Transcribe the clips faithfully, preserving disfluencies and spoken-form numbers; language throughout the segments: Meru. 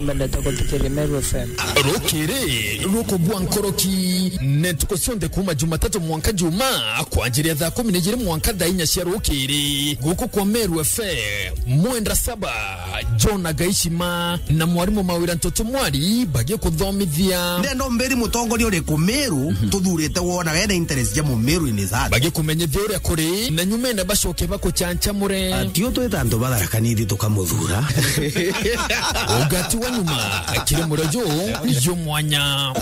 Mbendete guthikiria Meru F M. Rukiri rukubua nkoroki, ni ntuku cionthe kuuma Jumatatu mwanka Juma, kwanjiria thaa kumi na ijiri mwanka thaa inya cia rukiri, guku kwa Meru F M. Mwenda Saba, John Agaishima na mwarimu Mawira Ntoto Mwari bagikuthomithia. Ndenda umbiri mutongoria uriku Meru tuthurite wona wena interest ja Mumeru in his heart. Bagikumenyithia uria kuri, na nyumene bacoke bakuchanchamure. Ati utwita antu batharakanithi tukamuthura. Ugati wa nyuma, kiri murejo, yo mwanya.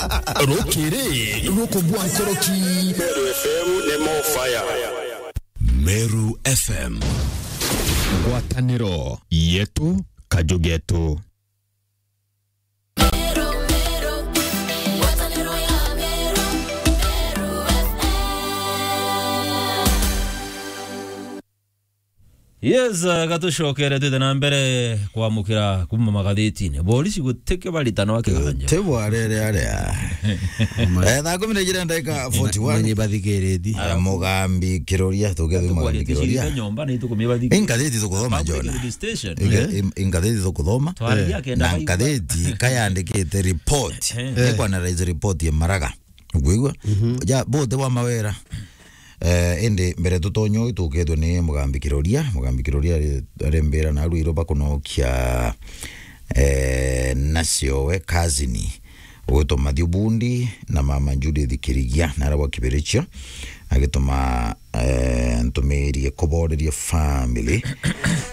Rukiri rukubua nkoroki. Meru F M ni more fire. Meru F M. Ngwataniro yetu, kaju getu. Yes, uh, gatucokere twite na mbere kwamukira kuma magathitine. Borisi gutikio baritana wa kiganja. Ti bwarere aria. Eh, thaa kumi na ijiri ndagika forty one. Mwenye bathikiriti. Eh, Mugambi Kiroria, tugethwe Mugambi Kiroria. Nyomba ni tukumia bathikiriti. Ingathiti tukuthoma, Jona. Ingathiti tukuthoma. Twariria kenda na baigua. Ngathiti kayandikite report. Eh. Ni ku analyze report ya Maraga. Ukwigua? Mhm. Ja, bote wa Mawera. Eh, indi mbere tutonye uu, tukethwe ni Mugambi Kiroria. Mugambi Kiroria ari, ari mbira na arwiro bakunokia, eh, nacio we kazini. Ugwitwa Matthew Bundi na mama Judith Kirigia, na aria gwa Kibirichio, agituma, eh, ntumirie kuboreria family.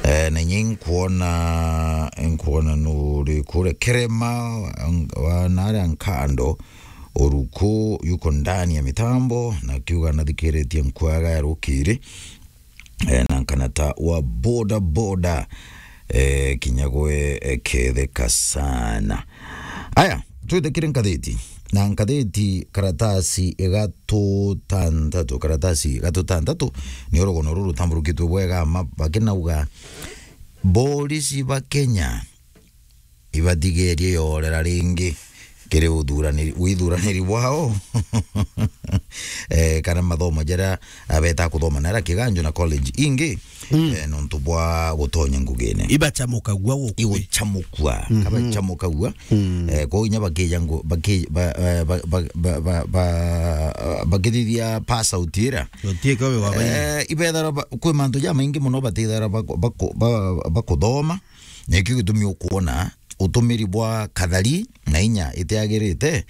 Eh, na inye nkuona, nkuona nuri kuria Kerema, ang-, wa, na aria Nkando, Oruko yuko ndani ya mitambo, na akiuga nathikiritie nkwaga ya rukiri. Eh, na nkanata wa boda boda, eh, kinya gwe, eh, ketheka sana. Aya, twithikire nkathiti. Na nkathiti karatasi igatu tantatu, karatasi igatu tantatu, ni rugono ruru rutamburukitwe bwega ma, bakinauga, borisi ba Kenya ibatigerie yorera ringi kiri uthuraniri, withuraniri bwao. Eh, kana mathomo jaria abeta kuthoma na aria kiganjo na college ingi, mm, eh, nontu bwa gutonya ngugine. Ibachamukagua gukui. Iguchamukua, mhm, kabachamukagua. Mm. Eh, kwou inya bakija ngu-, baki-, ba-, eh, ba-, ba-, ba-, ba-, ba-, bakithithia pass out ira. Gutiika wi wa baingi. Eh, ibethara ba-, kwi mantu jamaingi mono batithara bako-, bako-, ba-, bakuthoma. Nikio gitumi ukwona utumiri bwa kathari na inya itiagirite,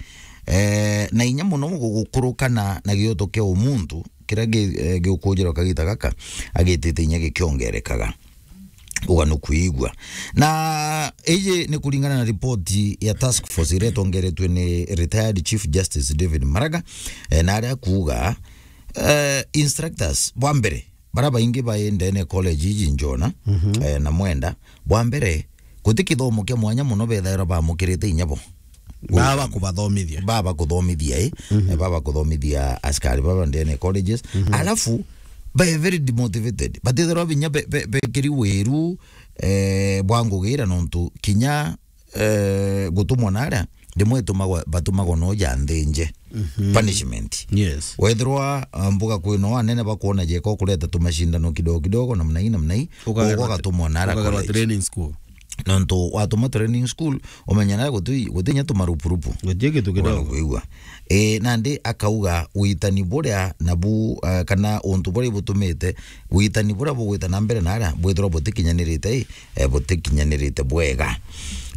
eh, na inya mono gu-, gukurukana na gioto kia umuntu, kiria gi-, eh, giukujirwa kagita gaka, agitite inya gikiongerekaga. Uga nukwigua. Na iji ni kuringana na ripoti ya task force iria itongeretwe ni retired Chief Justice David Maraga, eh, na aria akuuga, eh, instructors, bwa mbere, bara baingi bai ndene college iji njona, mhm, eh, na Mwenda, bwa mbere, guti kithomo kia mwanya mono bethairwa bamukirite inya bo. Baba kubathomithia. Baba kuthomithia, eh? Mhm. Eh, baba kuthomithia askari baba ndene colleges. Mhm. Alafu, bae very demotivated. Batithirwa binya be-, be-, bekiri wiru, eh, bwa ngugira nontu kinya eh, gutumwa naria, rimwe itumagwa, batumagwa no ja nthinje. Mhm. Punishment. Yes. Wethirwa, ah, mbuga kwina anene bakwona jeka ukureta tumashindano kidogo kidogo, namna hii, namna hii, ugatumwa naria college. Training school. Nontu watumwa training school, umenya naria guti, guti nya tumarupurupu. Guti kitu kidogo. Kwigua. Eh, nandi akauga witani buria nabu, eh, kana untu buria butumite witani buria bugwita na mbere naria bwithirwa butikinyanirite, eh, butikinyanirite bwega.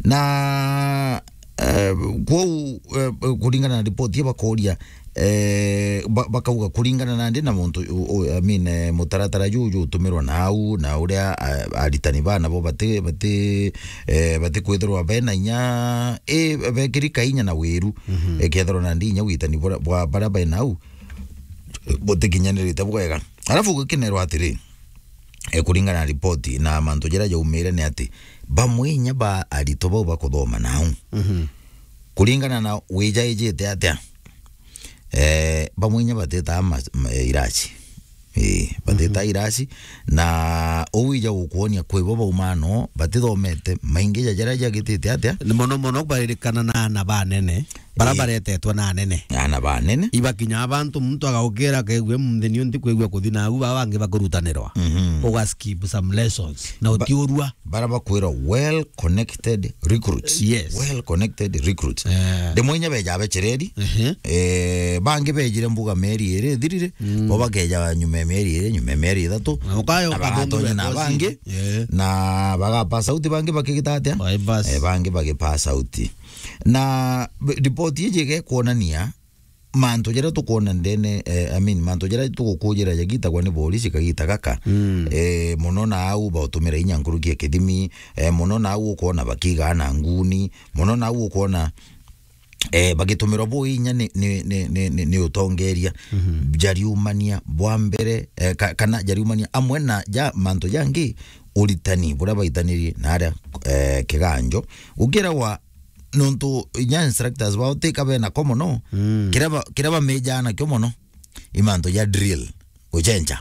Na, eh, kwou, eh, kuringana na ripoti ii bakoria, eh, ba-, bakauga kuringana nandi na muntu u-, u-, I mean, eh, mutaratara juu jutumirwa nau, na uria, eh, aritani bana bo bati-, bati-, eh, batikwithirwa bena inya, eh, bekirika inya na wiru, mhm, eh, kethirwa nandi inya witani bura-, bwa baria bena au butikinyanirite bwega. Alafu gukinerwa atiri, eh, kuringana na ripoti na mantu jaria jaumire ni ati, bamwe inya ba aritwa bau bakuthoma nau, mhm, kuringana na wijaijite atia, eh, bamwe inya batitaa ma-, ma-, irasi. Ii, batitaa, mhm, irasi, na uu ija gukwonia kwi bo bauma no batithomete, maingi ja jaria jagitite atia? Ni mono mono baririkana na ana banene. Bara baretetwe na anene. Ana banene. Ibakinya abantu, muntu agaukira akegua, "Munthi ni unthi kwigua kuthi na au, baba bangi bakurutanirwa." Mhm. Uga skip some lessons. Na utiurua. Bara bakwira well connected recruits. Yes. Well connected recruits. Eh. Ndimwe inya beja bechereri. Ehe. Eh, bangi bejire mbuga mieri iri ithirire. Mm. Bo bakeja nyuma ya mieri iri, nyuma ya mieri ithatu. Na ukayo na ukathoma bagatonya na course. Bangi. Yeah. Na bagapasa uti bangi bakigita atia? Bai basi. Eh, bangi bagipasa uti. Na b-, ripoti iji igekuonania mantu jaria tukwona ndene, eh, I mean, mantu jaria tugukujira jagitagwa ni borisi kagita gaka. Mm. Eh, muno na au bautumira inya nkuruki ya kithimi, eh, muno na au ukwona bakigaa na nguni, muno na au ukwona, eh, bagitumirwa bu inya ni, ni, ni, ni, ni, ni utongeria. Mhm. Jariumania bwa mbere, eh, ka-, kana jariumania amwe na ja mantu jangi, uritani buria baitanirie na aria, eh, kiganjo. Gukiragwa nontu inya instructors bao ti ka bena ko mono, mm, kiria ba-, kiria bamejaa nakio mono, i mantu ja drill, gucenja,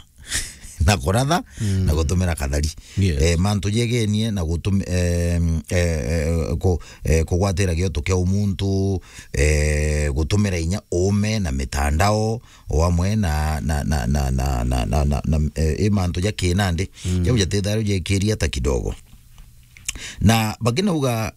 na kuratha, mm, na gutumira kathari. Yes. Eh, mantu jegenie na gutum-, eh, eh, eh, ku-, eh, kugwatira gioto kia umuntu, eh, gutumira inya uume na mitandao, o amwe na, na, na, eh, i mantu ja kinandi, mm, jau jatithairwe jekiria ta kidogo. Na bakinauga,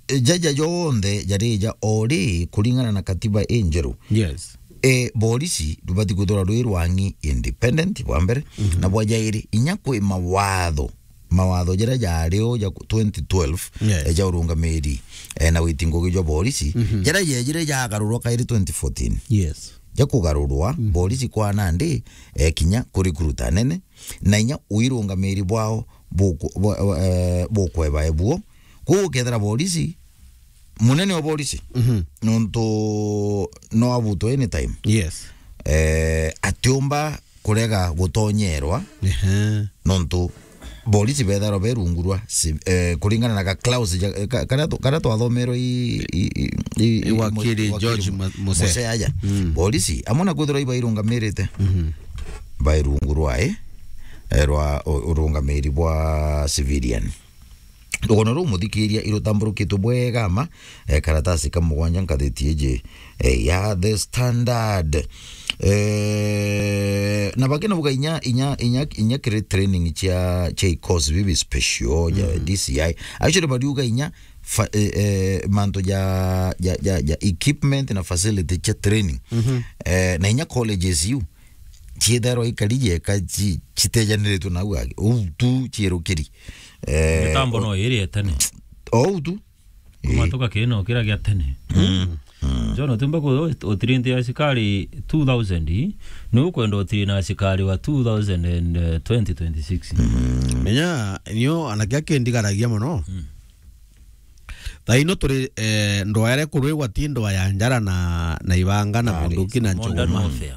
eh, jaja jonthe jarija o ri kuringana na katiba injeru. Yes. Eh, borisi rubati kwithirwa rwi rwang'i independent, bwa mbere, mhm, na bwa jairi, inya kwi mawatho, mawatho jaria jari o ja twenty twelve, yes, eh, ja urungamiri, eh, na witi ngugi jwa borisi, mhm, jaria jejire jagarurwa kairi twenty fourteen. Yes. Ja kugarurwa, mhm, borisi kwa nandi, eh, kinya kurecruit anene, na inya uirungamiri bwao buku-, bu-, eh, bukweba ebuo. Kwou ukethira borisi, munene wa borisi, mhm, nontu no abutwe anytime. Yes. Eh, atiumba kurega gutonyerwa, ehe, nontu borisi betharwa berungurwa si-, eh, kuringana na ga clause ja, eh, ka-, karia tu-, karia twathomerwe i, i, i, i, i, wakiri mo-, George wakiri Mu-, Musea. Musea aja. Mm. Borisi, amwe na kwithirwa ibairungamirite, mhm, bairungurwa, eh, eh, rwa u-, urungamiri bwa civilian. Rugano ruu muthikiria irutamburukitwe bwega ma, eh, karatasi ka mugwanja nkathiti iji, eh, ya The Standard. Eh, na bakina buga inya, inya, inya, inya kiri training cia, cia ikosi bibi special, ja, mhm, D C I. Actually, bariuga inya fa-, eh, eh, mantu ja, ja, ja, ja equipment na facility cia training. Mhm. Eh, na inya colleges iu ciethairwa ikari jeka ci-, citejaniritwe nau agi. Uu tu ciirukiri. Eh, mitambo o-, no iri ya tene. O uu tu. Kumatuka kino kira gia tene. Mm. Mm. John, utimba ku-, utirinte asikari two thousand, ni ukwenda utiri na asikari wa two thousand and twenty twenty-six. Mm. Menya, nio anake akindigaragia mono. Mm. Thaino turi, eh, ndwaa iria ikurwigwa ti ndwaa ya njara na, na ibanga na bunduki na nchuma. Modern warfare.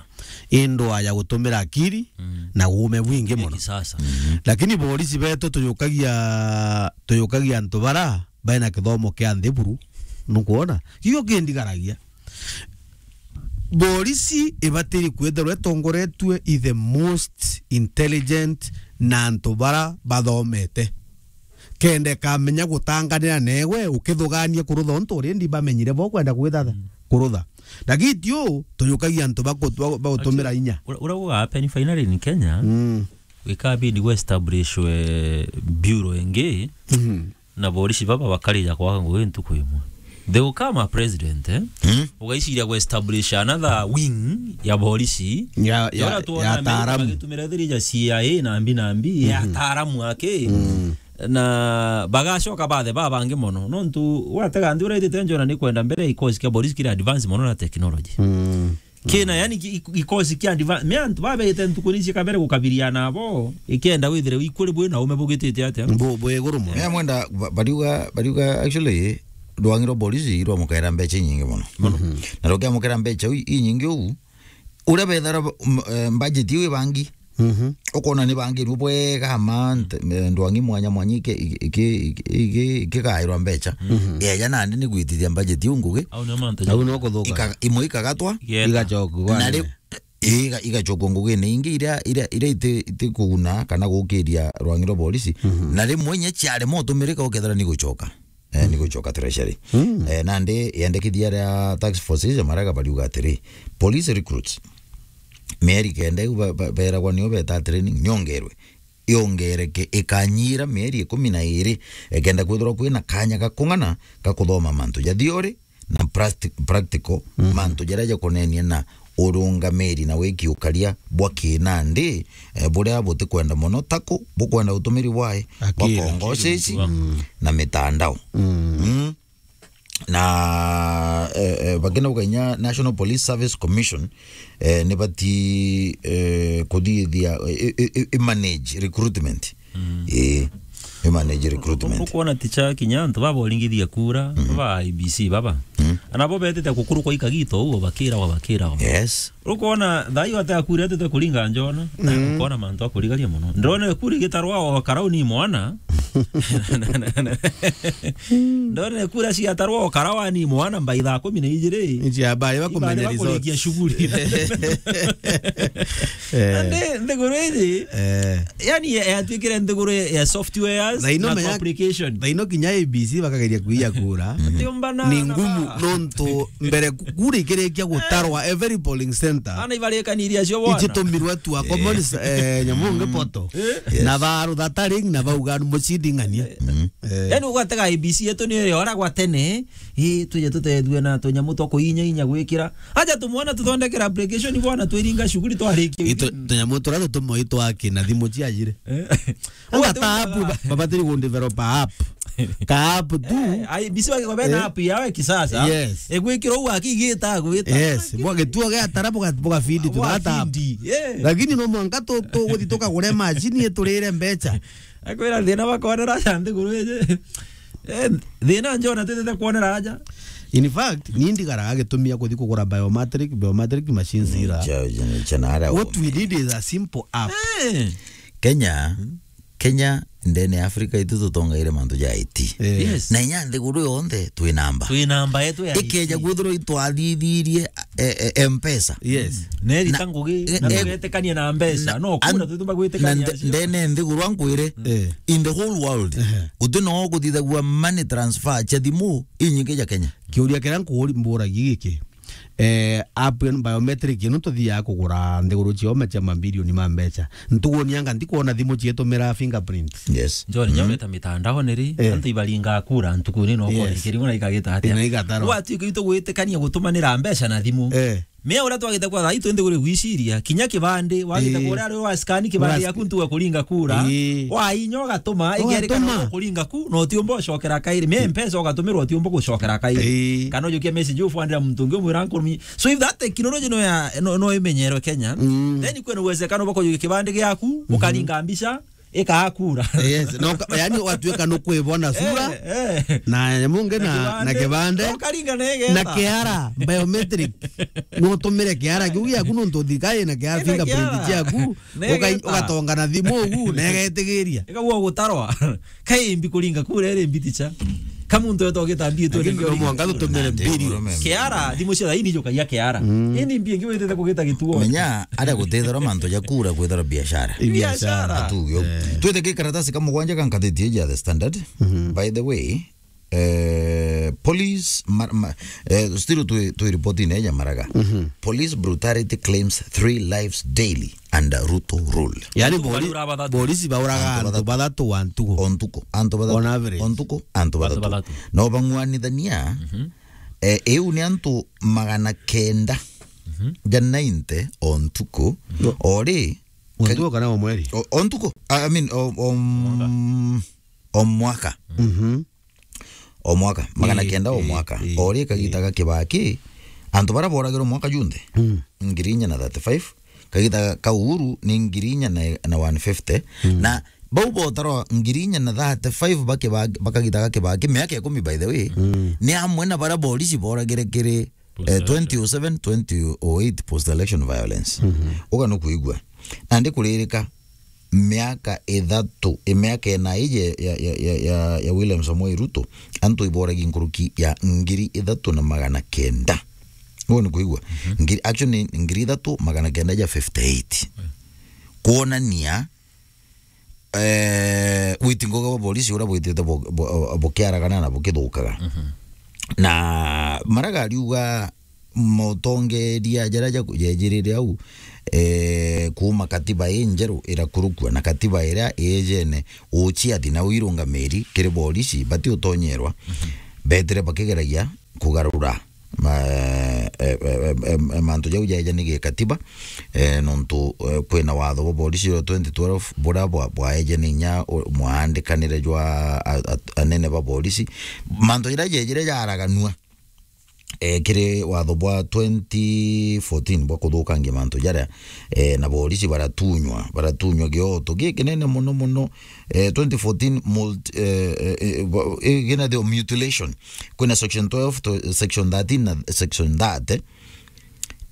I ndwaa ya gutumira akiri, mm, na uume bwingi mono. Ya kisasa. Mhm. Lakini borisi betu tuyukagia, tuyukagia antu bara baina kithomo kia nthi buru. Nukwona? Kiu kindigaragia. Borisi ibatiri kwithirwa itongoretue i the most intelligent na antu bara bathomete. Kenda ikamenya gutanganira newe ukithugania kurutha untu already bamenyire bo kwenda kwithatha, mm, kurutha. Lakini ti uu, tuyukagia antu baku-, ba-, bagutumira inya. Actually, ura-, ura guga happen finally in Kenya, mm, ikabidi gwe establish we bureau ingi, mhm, na borisi baba bakarija kwaga ngugi ntuku imwe. They will come a president, eh? Mm. Ugaiciria gwe establish another wing ya borisi. Ya, ya, ya ura tuona ya Amerika ataaramu. Bagitumira thirija C I A na mbi na mbi, ya, mhm, ataaramu ake. Mm. Na bagacoka bathe babangi mono. Nontu watega nthi uraitite njona ni kwenda mbere ikosi kia borisi kiri advance mono na technology. Mm. Kina, yani, ki-, ikosi kia advance. Me antu babete ntuku ni cia kabere gukabiria nabo, ikienda withire ikuri bwi na ume bugitite atia? Bu-, bwi iguru mono. Eh, mwenda, ba-, bariuga, bariuga, actually, rwang'i rwa borisi rwamukaira mbeca inyingi mono. Mono. Mhm. Na rukiamukira mbeca u-, inyingi uu, uria bethara ba-, m-, eh, budget iu ibangi, mhm, ukona ni bangirwe bwega ma nte-, eh, ndwang'i mwanya mwanya iki-, iki-, iki-, iki-, ikigairwa mbeca. Mhm. Eja nandi ni gwitithia budget iu ngugi. Au nio mantu. Au no kuthuka. Ika-, imwe ikagatwa. Igeta. Igacokua na ri-, iga-, igacokua ngugine ingi iria, iria, iria iti, iti kuguna kana gukiria rwang'i rwa borisi. Mhm. Na rimwe inya ciarema utumirika ukethira ni gucoka. eh, ni gucoka treasury. Mm. Eh, nandi yendekithia ria task force icio maraga bariuga atiri, police recruits, mieri kenda iu ba-, ba-, beragwa nio beta training, niongerwe. Iongereke, ikanyira mieri ikumi na iri, ikenda kwithirwa kwina kanya ga kung'ana ga kuthoma mantu ja theory na practi-, practical, mhm, mantu jaria jakonenie na urungamiri na wiki ukaria bwa kinandi, eh, buria butikwenda mono, taku bukwenda utumiri bwae bwa akiri, kongosesi, akiri, mm, na mitandao. Mm. Mm. Na, eh, eh, bakina bukainya National Police Service Commission, eh, ni bati, eh, kuthithia, eh, eh, eh, eh, manage recruitment. Mm. Eh, eh, manage recruitment. Ukwona ticha kinya antu baba uringithia kura, mhm, ba I B C baba. Mm. Ana bo betete kukurukwa ikagito uo bakira wa bakira wa. Yes. Ukwona thai wate akura tete kuringa njona, mm, ukwona mantu akurigaria muno. Ndone kuri gitarwa o karau ni mwana. Ndone kura ciatarwa o karau ni mwana mbai thaa kumi na ijiri. Nji habari bakurikia shughuli. Eh. Ande nthiguru iji. Eh. Yani, ya-, yatuikire nthiguru ya softwares na complication. Thaino kinya A B C bakageria kuiya kura. Ni ngumu nontu mbere ku-, kura ikirikia gutarwa every polling center. Ana ibarikaniria cio bwana. Icitumirwe tu a common, eh, nyamu ngi poto. Eh. Yes. Na baru thataring na bauga mucinding'anie. Eh. Yani ugatega A B C yetu ni iri ora gwa tene. Ii, twije tutethue na tunyamu twa kuinya inya gwikira. Aja tumwona tuthondekera application bwana, twiringa shughuli twarikia. Itu-, tunyamu turia tutumwe itwaki na thimu ciajire. Eh. Anga ta app, ba-, babatiri ku develop app. Ka app tu. Eh, I B C wake kwa bena app yao ya kisasa. Yes. Egwikira u akigita gwita. Yes, bwa gituo gia tara buga, buga feed tu data app. Feed, yeah. Lakini no mwanka tu, tu guthi tukagure machine iturire mbecha. Akwira thina bakonera aja nthiguru iji. Eh, thina njona twitete kwonera aja. In fact, ni ndigaraga gitumia kuthi kugura biometric, biometric machines ira. Cha, cha, cha nara. What we need is a simple app. Eh. Kenya, Kenya, ndene ya Africa itu tutongaire mantu ja I T. Eh. Yes. Na inya nthiguru yonthe twi namba. Twi namba yetu ya I T. Ikeja kwithirwa itwathithirie, eh, eh, M-Pesa. Yes. Neri ta ngugi, eh, na eh, tugetekania na mbeca, na, no, kuna an-, tutumba gwitekania na nde-, acio. Ndene nthiguru ankwire, eh, in the whole world, ehe, guti no kuthithagua money transfer cia thimu inyingi ja Kenya. Kiuria kiria nkuri-, mburagia giki, eh, app ya biometric ino tuthiaga kugura nthiguru cioma cia mabilioni ma mbeca. Ntuguuni anga ndikwona thimu cietumira fingerprint. Yes. Njoni, mm, nyometa mitandaoni ri, eh, antu ibaringa kura ntukuuni no, yes, kore kiriu na ikagita atia. Ina igatarwa. Gwatuika itu gwitikania gutumanira mbeca na thimu. Eh. Mea uria twagite kwa thai twende kuri gwiciria, kinya kibandi, wagite, ii, kuria ari wa scan kibandi, ura-, yaku ntuga kuringa kura, ii, wainya ugatuma, igerikana ugatuma, kuringa ku, na utiumba ucokera kairi. Me M-Pesa ugatumirwa utiumba gucokera kairi. Ii. Kana ujukia message ufwandira muntu ungi umwira nkurumi. So if that technology no ya, no, no imenyerwe Kenya, mm, then kwina uwezekano bwa kujukia kibandi giaku, mhm, ukaringa mbica, ikakura. Yes, no ka-, yani ugatuika nukwibona sura, eh, eh, na nyamu ngi na, na kibande, na kibande, ukaringa na igeta, na kiara, biometric. No utumire kiara kiu giaku nontu thirikari ina kiara, ina fingerprint kiara ciaku, na ugai-, igeta, ugatonga na thimu ugu, na igetigiria. Ikagua gutarwa. Kaimbi kuringa kura iri mbiticha. Ka muntu wetu ogita mbi tu. Lakini no mwanka tutumire mbilioni. Kiara, thimu cia thaini ijukagia kiara. Mm. Ini mbi ingi witite kugita gituo. Menya, aria gutithirwa mantu ja kura kwithirwa biashara. I biashara. Atugio. Eh. Twite gikaratasi ka mugwanja ga ngathiti iji ya The Standard. Mhm. By the way, eh, police, ma-, ma-, eh, still twi, twi ripoti-ini ya Maraga. Mhm. Police brutality claims three lives daily under Ruto rule. Yani, antu bori-, bari ura bathatu. Borisi bauraga antu bathatu. Antu bathatu wa ntuku. O ntuku, antu bathatu. On average. O ntuku, antu bathatu. Antu bathatu. No bang'uanithania, mhm, eh, iu ni antu magana kenda, mhm, ja ninety o ntuku. Mhm. O ri, o ntuku kana o mweri? O, o ntuku. I mean, o, o, mwaka. Mm, o mwaka. Mhm. O mwaka, magana kenda o mwaka. Ii, ii, ii. O ri kagita ga Kibaki, antu baria boragirwe mwaka junthe, mm, ngiri inya na thirty-five, kagita ka Uhuru ni ngiri inya na, na one fifty, mm, na bau botarwa ngiri inya na thirty-five ba Kibaki, ba kagita ga Kibaki, miaka ikumi, by the way, mm, ni amwe na baria borisi boragire kiri, eh, post election, twenty oh seven, twenty oh eight post election violence. Mhm. Uga nukwigua. Nandi kuririka miaka ithatu, i miaka ina iji ya, ya, ya, ya, ya William Samoei Ruto, antu iboragi nkuruki ya ngiri ithatu na magana kenda. Uguo ni kuigua? Mhm. Ngiri, actually, ni ngiri ithatu magana kenda ja fifty-eight. Mm. Kwonania eh, witingoga bwa polisi uria bwitite bu-, bu-, bukiaragana na bukithukaga. Mhm. Na Maraga ariuga mutongeria jaria jaku-, jejirire au, eh, kuuma katiba injeru irakurukua na katiba iria ijene uchiathi na uirungamiri kiri polisi bati utonyerwa, mhm, betire bakigeragia kugarura ma-, eh, eh, eh, eh, mantu jau jaeja ni gikatiba, eh, nontu, eh, kwina watho bwa polisi jwa twenty twelve buria bwa-, bwaeje ni inya u-, mwandikanire jwa a-, a-, anene ba polisi. Mantu jaria jejire jaraganua, eh, kiri watho bwa twenty fourteen bwa kuthukangia mantu jaria, eh, na polisi baratunywa, baratunywa gioto gikinene muno muno, eh, twenty fourteen multi-, eh, eh, eh, ba-, eh, gina the mutilation. Kwina section twelve to section thirteen na section thirty.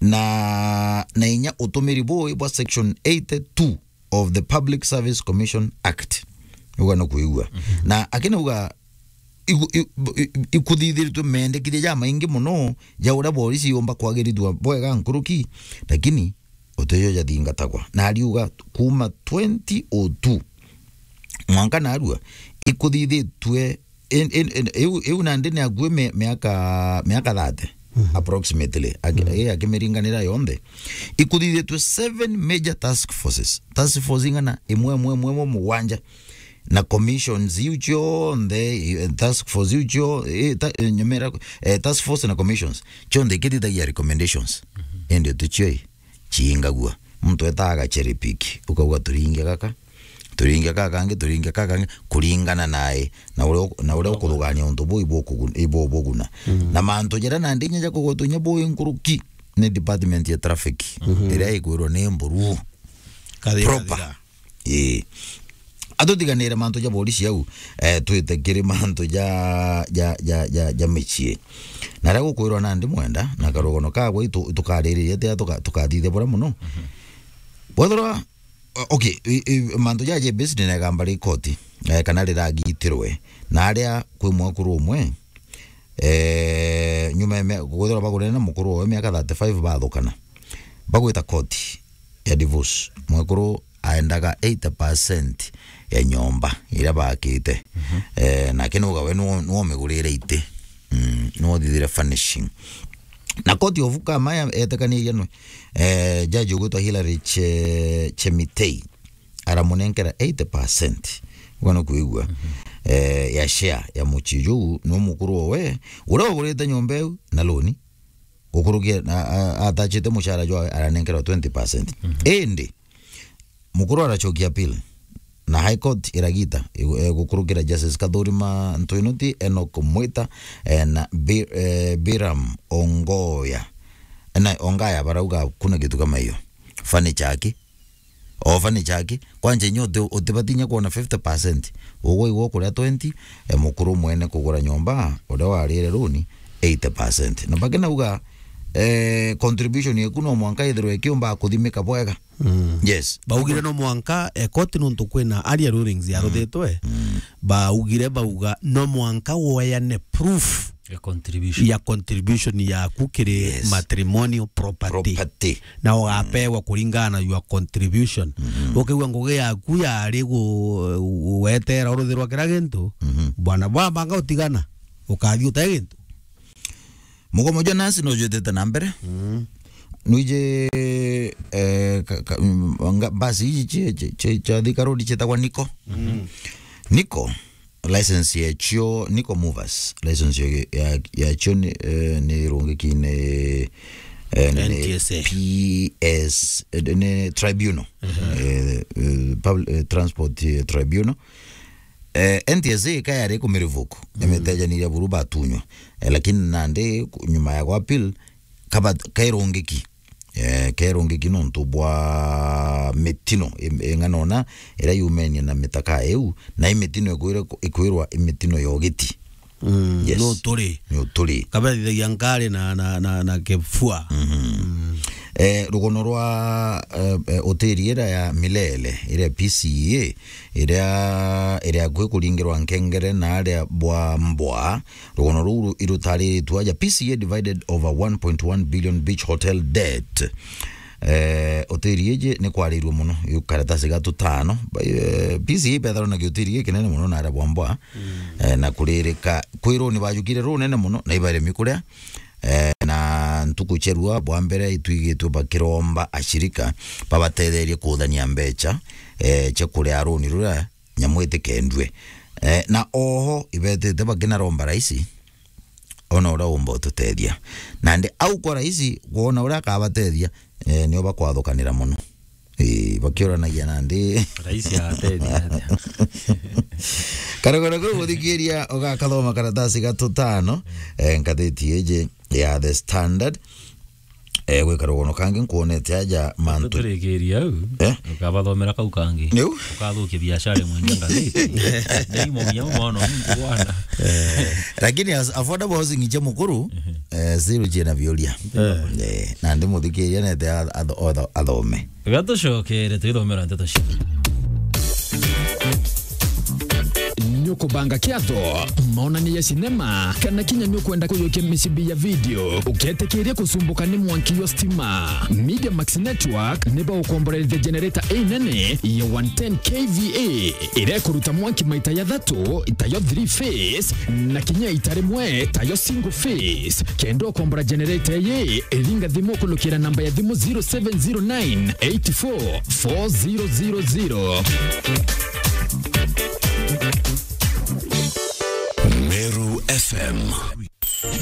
Na, na inya utumiri bui bwa section eighty-two of the Public Service Commission Act. Uga no kuigua. Mhm. Na akinauga igu-, i-, i-, ikuthithiritwe mendekithia jamaingi muno ja uria borisi yumba kwagirithua bwega nkuruki, lakini utijo jathingatagwa. Na ariuga kuuma twenty oh two mwanka narua ikuthithitue, in, in, in, iu, iu nandi ni akui mi-, miaka, miaka thirty, mhm, approximately, aki-, mhm, eh, akimiringanira yonthe. Ikuthithitue seven major task forces. Task force ing'ana? Imwe, imwe, imwe, imwe, mugwanja. Na commissions iu cionthe, eh, task force iu cio, eh, ta-, eh, nyumira, eh, task force na commissions, cionthe ikithithagia recommendations. Mhm. Indi uticio i, ciingagua. Muntu etaa agacherry pick, ukauga, "Turinge gaka, turinge gaka kangi, turinge gaka kangi," kuringana nae, na uria u-, na uria ukuthugania untu buu ibukugun-, ibubuguna. Mm. Na mantu jaria nandi inya ja kugwetwa inya buu nkuruki ni department ya traffic, mhm, iria ikwirwa ni mburu. Kathira, proper. Kathira. Ii. Atutiganire mantu ja borisi au, eh, twite kiri mantu ja, ja, ja, ja, ja micii. Na ria gukwirwa nandi mwenda, na karugano kagwa itu-, tukaririria atia tuka-, tukathithia buria muno. Mhm. Bwethirwa, o-, okay, i, i, mantu ja J B C ni negamba ri koti, eh, kana riragitirwe. Na aria kwi mwekuru umwe, eh, nyuma ya mia-, kwithirwa bagurene na mukuru wawe miaka thirty-five bathukana. Bagwita koti ya divorce. Mwekuru aendaga eighty percent ya nyomba iria bakite. Mhm. Eh, nake nuga we nuo, nuo migurire iti. Mm, nuo thithire furnishing. Na court of Kamaya etekanirie nwe, eh, judge ugwitwa Hilary Che-, Chemitei aramunenkera eighty percent. Uga no kuigua. Mhm. Eh, ya share ya mucii juu, no mukuru owe, uria ugurite nyomba iu na loan, gukurukia, a-, a-, atachite mushara jwawe aranenkerwa twenty percent. Mhm. Indi, mukuru arachokia appeal na High Court iragita, igu-, eh, gukurukira Justice Kathurima Ntwinoti, Enoch Mwita, eh, na Bi-, eh, Biram Ongoya. Na Ongaya barauga kuna kitu kama hiyo. Furniture aki. O furniture aki. Kwanja inya uti-, utibatinya kuona fifty percent. Ugwe igwe ukuria twenty, eh, mukuru mwene kugura nyomba, uria warire loan, eighty percent. Na bakinauga, eh, contribution yeku no mwanka ithirwe ikiumba kuthimika bwega. Mm. Yes. Baugire no mwanka, eh, koti nontu kwina aria rulings yaruthitwe. Mm. Baugire bauga no mwanka woyane proof ya contribution, ya contribution yaku kiri, yes, matrimonial property. Property. Na ugapewa, mm, kuringana na your contribution. Mm-hmm. Ukiigua ngugi yaku yari gu-, gwetera uruthirwa kira gintu, mm-hmm, bwana, bwabanga utigana, ukathi ute gintu. Mugomo jwa nasi no jwitite na mbere. Mm. Nwiji, eh, ka-, ka-, mm, nga-, basi iji cia, cia, cia, cia Thika Road cietagwa Niko. Mm. Niko, license yacio, Niko Movers, license ya, ya, yacio ni, eh, ni irungiki ni, eh, ni N T S A. P S, eh, ni tribunal. Mhm. Eh, eh, public, eh, transport, eh, tribunal. Eh, N T S A ka yari kumirivoke, mhm, imitejaniria buru batunywa. Eh, lakini nandi ku-, nyuma ya gwa appeal, kaba-, kairungiki. Eh, kairungiki nontu bwa mitino, i-, ing'anona iria yumenie na mitaka iu, na i mitino ikwire-, ikwirwa i mitino ya ugiti. Mm, yes. No turi. No turi. Kabathithagia nkari na, na, na, na kifua. Mhm. Mm. Eh, rugono rwa, eh, eh, hoteli iria ya Milele, iria P C A, iria, iria akui kuringirwa nkengere na aria bwa mbwa, rugono ruu ru-, irutariritwe aja P C A divided over one point one billion beach hotel debt. Eh, hoteli iji ni kwariirue mono, yu karatasi ga tutano. Ba-, eh, P C A ibetharwa na giutiri gikinene mono na aria bwambwa. Eh, na kuririka kwi runi bajukire runene mono, na ibaremi kuria. Eh, na ntuku cia rua bwa mbere itwigitwe bakiromba ashirika babatetherie kuthania mbecha, eh, cia kuria runi ruria nyamu itikendue. Eh, na oho ibetite bakinaromba raisi, ona uria umba ututethia. Nandi au kwa raisi, kwona uria akabatethia, eh, nio bakwathukanira mono. Ii, bakiuranagia nandi. Raisi atethia atia? Karogoro kau guthikiria ugakathoma karatasi ga tutano, eh, ngathiti iji ya The Standard. Eh, gwi karugono kangi nkwonete aja mantu. Tuturikiria au. Eh? Ukabathomera kau kangi. Niu? Ukathukia biashara imwe nja ngathiti. Ni imo nginya mono, ni bwana. Eh, lakini as-, affordable housing cia mukuru, eh, still ciina biuria. Eh, nandi muthikiria nete a-, atho-, otho-, athome. Gatucokere twithomera nteto cia. Nĩũkũbanga kĩatho, maonania ya sinema, kana kinya nĩũkwenda kũyũkia mĩcibi ya video, ũketĩkĩria kũcumbũka nĩ mwanki wa stima? Media Max Network nĩ bagũkomborerithia generator ĩnene ya one ten K V A, ĩrĩa ĩkũruta mwanki maita ya tatu, tayo three phase, na kinya ita rĩmwe, tayo single phase. Kenda ũkombora generator ĩyĩ, ringa thimũ kũlũkĩra namba ya thimũ zero seven zero nine eight four four zero zero zero.